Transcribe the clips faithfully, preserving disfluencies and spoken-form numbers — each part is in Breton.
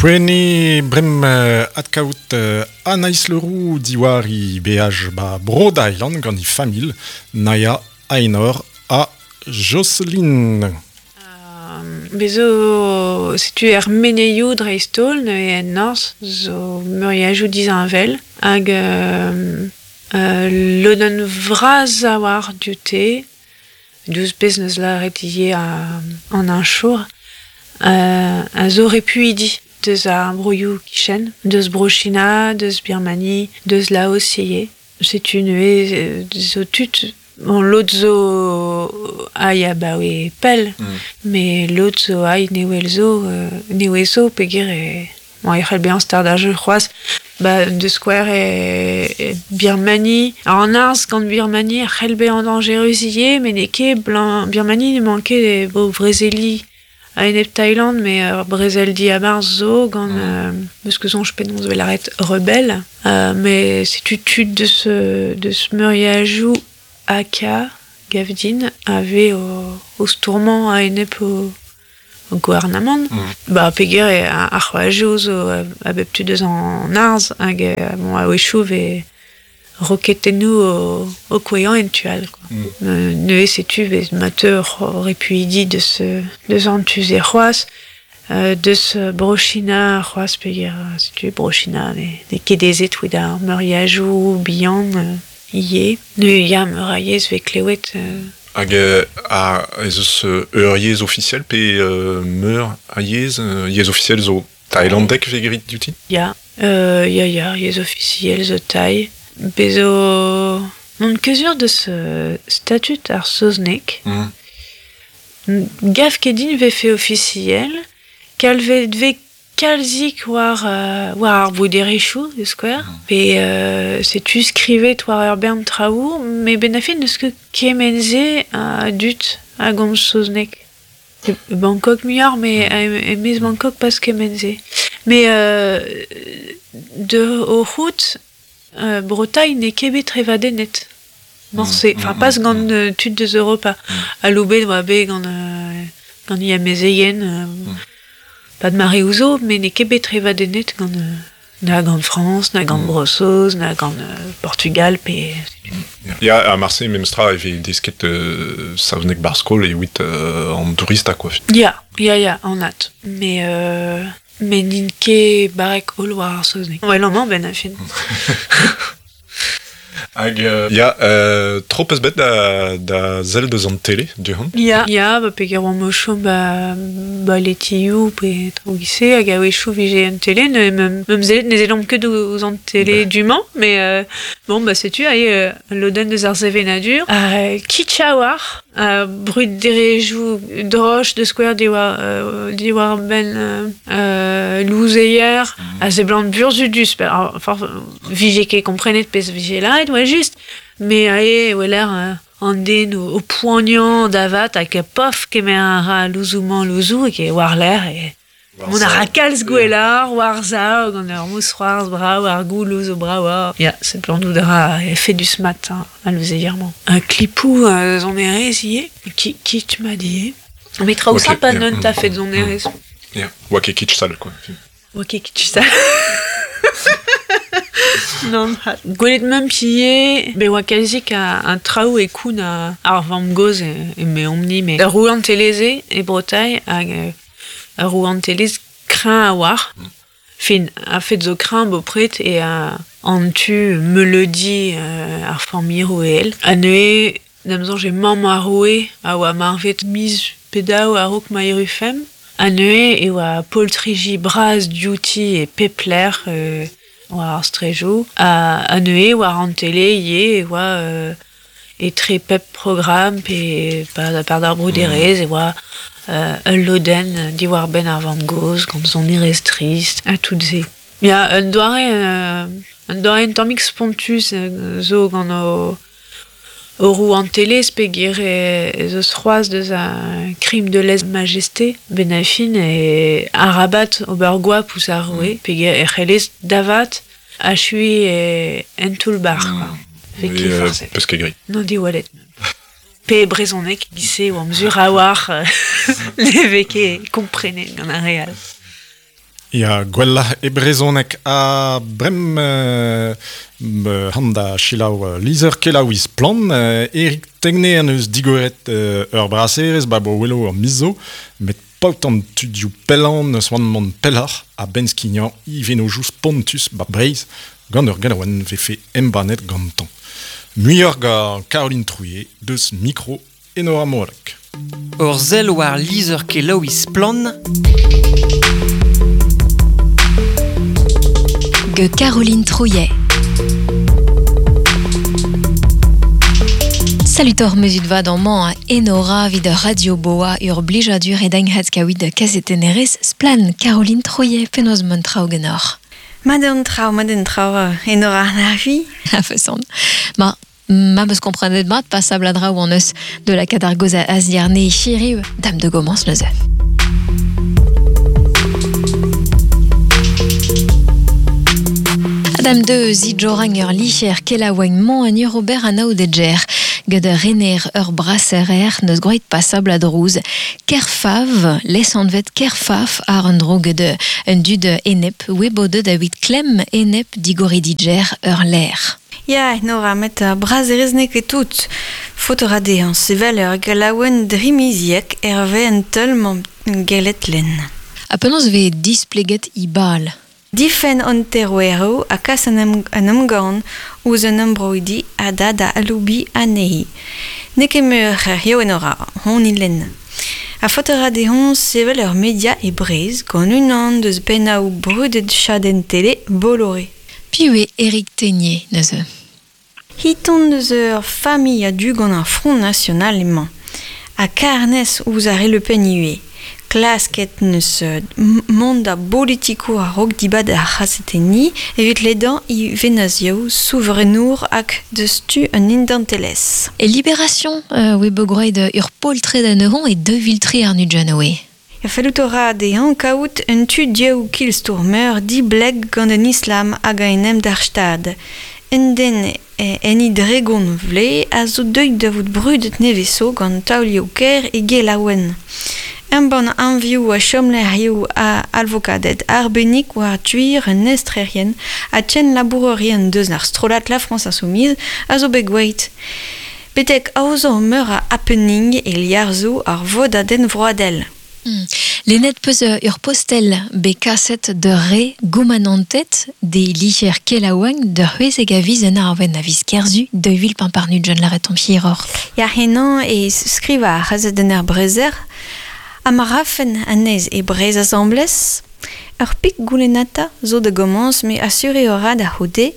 Poene brem euh, adkaout euh, Anaïs Leroux diwar i beaj ba Bro Thailand gant i famil Naya Ainor ha Jocelyn. Bezo, setu er meneioù dreist-holl neuze en norzh zo meuriajoù disheñvel hag euh, euh, lodenn vras a oar dioute, diouzh pezh neus lâret ivez an heñchour, euh, a zo repuidi deus ar broioù kichen, deus Bro-China, deus Birmanie, deus Laos ivez. Setu neuze zo tud. Bon, lod zo ai abaoe pell, mm. met lod zo ai newel zo, euh, newe zo peogwir e, bon, e c'hell bezañ start ar jeu c'hoazh. Ba, de skouer e, e Birmanie. Alors, an arz gant Birmanie a c'hell bezañ dañjerus ivez, met n'eo ket blanc Birmanie ne manque ket bo brezeli a-enep Thaïland, mais ur brezel diabarzh zo gant mm. euh, eus ket soñj penaos 'vel lâret rebelle. Euh, mais setu tud deus, deus meuriajoù Aka, Gavdin, ave o, o stourmañ a-enep o, o gouarnamant. Mm. Ba, peogwir e ar c'hoajoù zo a bep tu deus an arz hag bon, a-wechoù vez roketennoù o, o kouezhañ en tu all. Quoi. Mm. Euh, neuze setu vez ma teu repuidi deus, deus an tu-se c'hoazh, euh, deus Bro-China c'hoazh peogwir setu Bro-China ne, n'eo ket aezet evit ar meuriajoù bihan euh, ivez. Neuze ya meur a yezh vez klewet. Euh... Hag euh, a ez eus ur yezh ofisiel pe euh, meur a yezh, euh, yezh ofisiel zo thaïlandek vez graet diouti? Ya, euh, ya, ya, yezh ofisiel zo thaï. Bez zo n'on ket sur deus euh, statut ar saozneg. Mm. Gav ket din vefe ofisiel, kalvet vez kalzik war, euh, war ar bruderezhioù, de skouer. Mm. Pe euh, setu skrivet war ur bern traoù, met benn ar fin n'eus ket kement-se a dud a gomz saozneg. E Bangkok muioc'h, met mm. e-maez Bangkok pas kement-se. Mais euh, de o c'hoût, euh, Bretagne n'eo ket bet trevadennet. Morse. Enfin, mm, pas mm, gant mm. euh, tud deus Europa. Mm. Aloubet oa bet gant, euh, gant i amezeien, euh, mm. pas de mare ouzo, met n'eo ket bet trevadennet gant, euh, na gant France, na gant mm. Bro-Saoz, na gant euh, Portugal, pe... Ya, a Marseille memestra e vez desket euh, saozneg bar skol evit euh, an tourista, quoi. Ya, ya, ya, anat. Mais, euh, met n'int ket barrek holl war ar saozneg. Ouais, amañ benn ar fin. Hag, euh, ya, euh, tro peus bet da, da sell deus an tele, du-hont? Ya, ya, ba peogwir oamp o chom ba, ba letioù pe traoù giz-se, hag a-wechoù vije an tele, ne meum meum sellet ne sellomp ket ouzh an tele du-mañ, mais euh, bon, bah setu ae euh, lodenn deus ar sevenadur. Euh, kitsch a-walc'h, euh, bruderezhioù droch de skouer diwar, euh, diwar benn euh, euh, louzeier, mm. a seblant burzhudus, alors, enfin, vije ket komprenet pezh vije lâret, oa just, mais ae weler euh, an den o, o poaniañ da vat hag pof kemer a ra louzoù-mañ louzoù hag e war-lerc'h e Mont a ra kalz gwelloc'h war-sav gant ur mousc'hoarzh brav ar gouloù zo bravoc'h. Ya, seblantout a ra efedus mat al louzeier-mañ. Un klipoù euh, sonerezh ivez, ki kitsch mat ivez. Met traoù Ok, sympa ya. neun Mm. ta fet sonerezh. Ya, oa ket kitsch sall, quoi. Oa ket kitsch sall. Non, gwelet meump ivez, bet oa kalzik a, a traoù e koun a, ar vamm-gozh e, e meomp-ni, met ur rouantelezh e Bretagne hag euh, ur rouantelezh kreñv a-walc'h. Fin, a-fet zo kreñv bopred e a, an tu meuleudi euh, ar familh roueel. Ha neuze, da'm soñj eo mamm ar roue a oa marvet miz pe daou a-raok ma errufemp. Ha neuze e oa poltriji bras diouti e pep lec'h euh, war ar strejoù. Ha, ha neuze war an tele ivez e oa euh, etre pep programm pe par, par d'ar bruderezh e oa euh, ul lodenn diwar-benn ar vamm-gozh gant sonerezh trist ha tout se. Ya, un doare, euh, un doare un tammig spontus euh, zo gant o, o rouantelezh peogwir e, ez eus c'hoazh deus ar crime de lèse-majesté benn ar fin e arabat ober goap ouzh ar roue peogwir e c'hellez da vat achuiñ e en toull-bac'h, quoi. Vez Et, ket euh, forset. peus ket graet. Non diwallet. Pe brezhoneg giz-se oamp sur a-walc'h ne vez ket komprenet gant ar re all. Ya, gwella e brezonek a brem euh, han da chilaou lizer kelaouiz plan, euh, Eric Tegne an eus digoret euh, ur braserez ba bo welo ur mizo, met paot an tudioù pellan eus oan mont pelloc'h a benskignan ivenojous pontus ba breiz gant ur galaouen vefe embanet gantan. Muioc'h gant Caroline Trouillet deus micro Enora Morek. Ur sell war lizer kelaouiz plan. Ge Caroline Trouillet. Salutor mesut vad an man a Enora vid Radio Boa ur blijadur e danghat kawid kazetenerez splan Caroline Trouillet penoz mont traoù genor. Madame trao, madame trao, Enora na vi. A feson. Ma, ma meus komprenet mat pas sabladra ou an eus de la kadargoz a aziarne chiriu dame de gomans neuze. Adam de zidjorang ur licher kelaoueng mon an ur ober an aoudedjer gant ur rener ur brasserer neus groet passabl a drouz. Kerfav, les anvet Kerfaf ar an dro gant un dud enep webode da wit klem enep digorididjer ur l'air. Ya, Nora, met uh, braserez n'eo ket tout. Faot a dezhañ sevel ur galaouenn drimiziek hervez an teul mañ gellet lenn. Ha penaos vez displeget i bal. Difen an terouero a kas an, em, an emgann ouzh an embroidi a da da aloubi anezhi. N'eo ket meur c'heriou Enora, hon ilenn. A faot a ra dezhañ sevel ur media e Breizh gant unan deus pennaoù brudet chadenn tele Bolloré. Piv eo Eric Tegnier neuze. Hiton deus ur familh a-du gant ar Front National emañ. Ha karnez ouzh ar re Le Pen ivez. Klasket neus mont da politikour a-raok dibad ar c'hazetenniñ evit ledañ i venazioù souverenour hag deus tu un indantelezh. E Libération, euh, oe begroet ur poltred anezhañ e deux vil tri ar nudjan oe. Ya fellout a ra dezhañ kaout un tu dioù kilstourmeur dibleg gant an islam hag a enem d'ar stad. Un den en i dregon vle a zo deuet da vout brudet neveso gant taolioù ker e gelaouen. Embann anvioù a chomlec'hioù a alvokaded arbennik war tuir un estrerien a tchen labourerien deus ar strollad La France Insoumise a zo bet gweit. Betek aozañ meur a happening e liarzo ar vodadenn vroadel. Hmm. Lennet peus ur postel bet kaset de re goumanantet de licher kelaoueng de c'hwezek a viz en arven a viz kerzu de vil pamparnut jon laret an pierror. Ya henañ e skriva ar c'hazetenn ar brezer ha ma rafen anez e brez asamblez, ur pik goulennata zo da gomañs me asure ora da c'houde,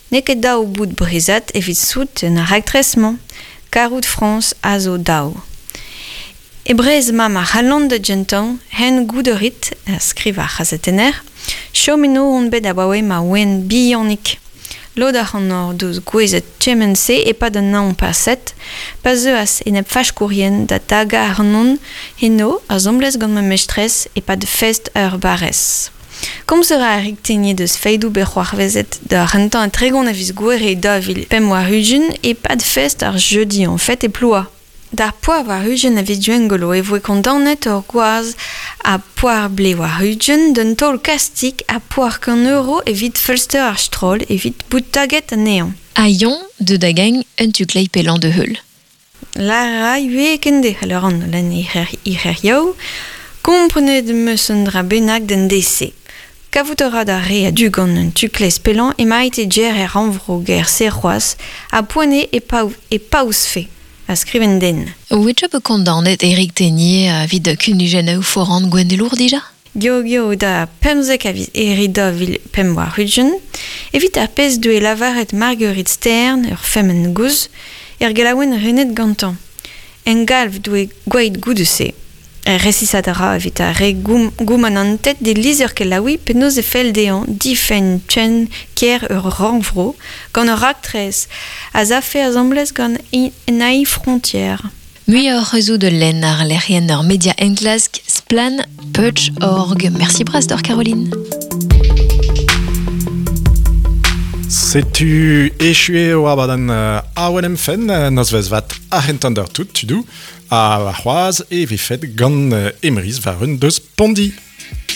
n'eo ket daou bout brezat evit sout un raktres-mañ, karout Frañs a zo daou. E brez ma ma c'hallont da gentañ, hen gouderit, a skriv ar c'hazetenner, chom eno on bet abaoe ma oen bihanik. Lod ac'hanoc'h deus gouezet kement-se e-pad an hañv paset, pa zeuas enep faskourien da tagañ ac'hanon eno asambles gant ma mestrez e-pad fest ur barrez. Komz a ra Eric Tegnier deus feidoù bet c'hoarvezet da rentañ an tregont a viz gouere daou vil pemp war ugent e-pad fest ar jeudi en fête e Ploua. D'ar poar war ugent a viz Gwengolo e voe kondaonet ur gwaz a poar ble war ugent d'un taol kastik a poar kant euro evit feulster ar stroll evit bout taget anezhañ. A yon de dagagn un tuklei pelan de heul. Lara ivez kende c'haller an lenn ic'her komprenet meus un dra bennak d'an D C. Kavout a ra da re a du gant un tuklez pelan emaint e djer er rannvro ger serc'hoaz a poane e, paou, e paouzfe. A skriven den. Oe be kondaonet Eric Tegnier a vid kunujennoù foran gwennelour dija? Geo geo da pemzek a viz eri da vil pemp war ugent, evit ar pezh doe lavaret Marguerite Stern, ur femmen gouz, er gelaouen renet gantañ. En galv doe gweit goude-se. Er resisat a ra evit ar re goum, goumanantet de lizer kelaoui penaos e fell dezhañ difenn chen ker ur rannvro gant ur raktres a zafe asambles gant en frontière. Muioc'h eus de lenn ar lec'hienn ur media enklask splan punch org. Merci bras d'or Caroline. Setu echu eo abadenn awen em fenn nozvezh vat ar c'hentan d'ur tout tudou a c'hoaz e vefet gant Emrys war un deus Pondi.